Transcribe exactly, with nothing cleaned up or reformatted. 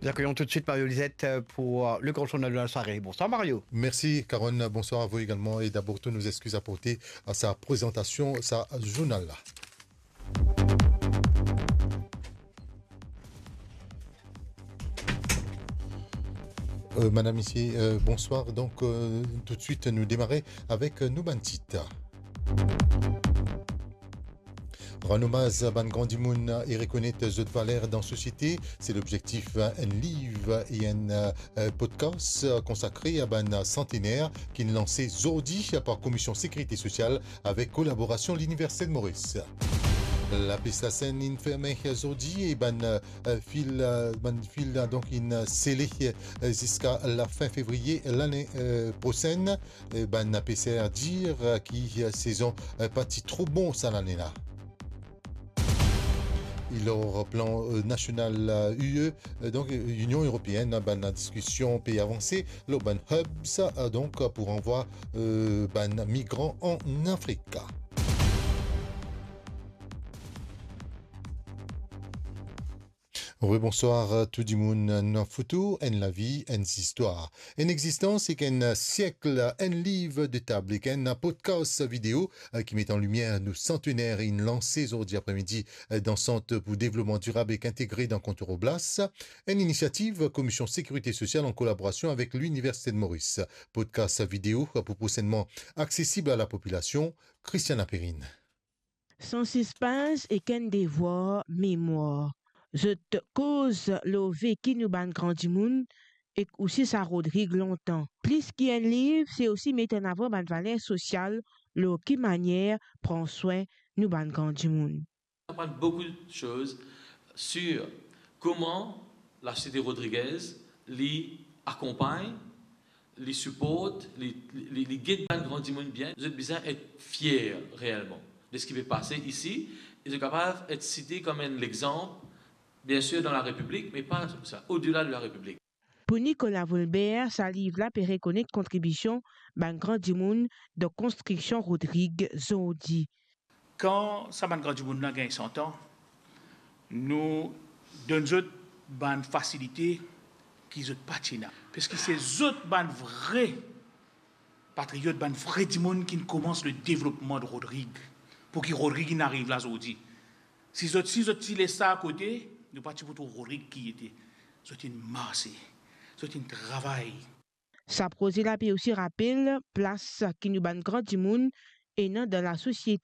Nous accueillons tout de suite Mario Lisette, euh, pour, euh, le grand journal de la soirée. Bonsoir Mario. Merci Carole, bonsoir à vous également et d'abord toutes nos excuses à porter à sa présentation, sa journal-là. Euh, madame, ici, euh, bonsoir. Donc, euh, tout de suite, nous démarrer avec, euh, nou bann tit. Rann omaz bann gran dimoun e rekonet zot valer dan sosiete, se lobzektif enn liv e enn, euh, podcast konsakre a bann santener ki'nn lanse zordi par Komision Sekirite Sosial avek kolaborasion Liniversite de Moris. Lapes Lasenn inn ferme zordi e bann, euh, fil, euh, bann fil, euh, donk inn sele, euh, ziska lafin fevriye lane, euh, prosenn. Eh, bann peser dir, euh, ki, euh, sezon, euh, pa ti tro bon sa lane la. E lor plan, euh, nasional, euh, U E, euh, donk, euh, Union Européenne, bann diskision pe avanse lor bann hubs, euh, donk, pou ranvwa, euh, bann migran an Afrik. Wi, bonswar tou dimoun. Enn foto, enn lavi, enn zistwar. Enn existans ek enn siekl, enn liv de tab ek enn podcast video, eh, ki met an limier nou santener inn lanse zordi apremidi, eh, dan Sant pou Devlopman Dirab ek Integre dan Kontour Oblas. Enn inisiativ Komision Sekirite Sosial an kolaborasion avek Liniversite de Moris. Podcast video pou prosennman aksesib a lapopilasion. Christiana Perrine. San sispens ek enn devwar memwar. Zot koz lor veki nou bann gran dimoun ek osi sa Rodrig lontan. Plis ki enn liv, se osi met an avan bann valer sosial lor ki manier pran swin nou bann gran dimoun. On apprend beaucoup de choses sur comment la société rodriguaise li akonpagn, li siport, li, li, li, li get bann gran dimoun bien. Zot bizin et fier reelman de seki pe pase isi, e zot kapav et site kom enn lexanp, bien sir dan la Repiblik, me pa sa, odela de la Repiblik. Pou Nicolas Volbert, sa liv la pe rekonet kontribision bann gran dimoun dan konstriksion Rodrig zordi. Kan sa bann gran dimoun la gagn san an, nou donn zot bann fasilite ki zot pa ti ena. Parski se zot bann vre patriot, bann vre dimoun ki'nn koumans le devlopman de Rodrig, pou ki Rodrig inn ariv la zordi. Si zot, si zot ti les sa akote, nou pa ti pou trouv Rodrig ki li ete. Zot inn marse, zot inn travay. Sa proze la pe osi rapel plas ki nou bann gran dimoun ena dan lasosiete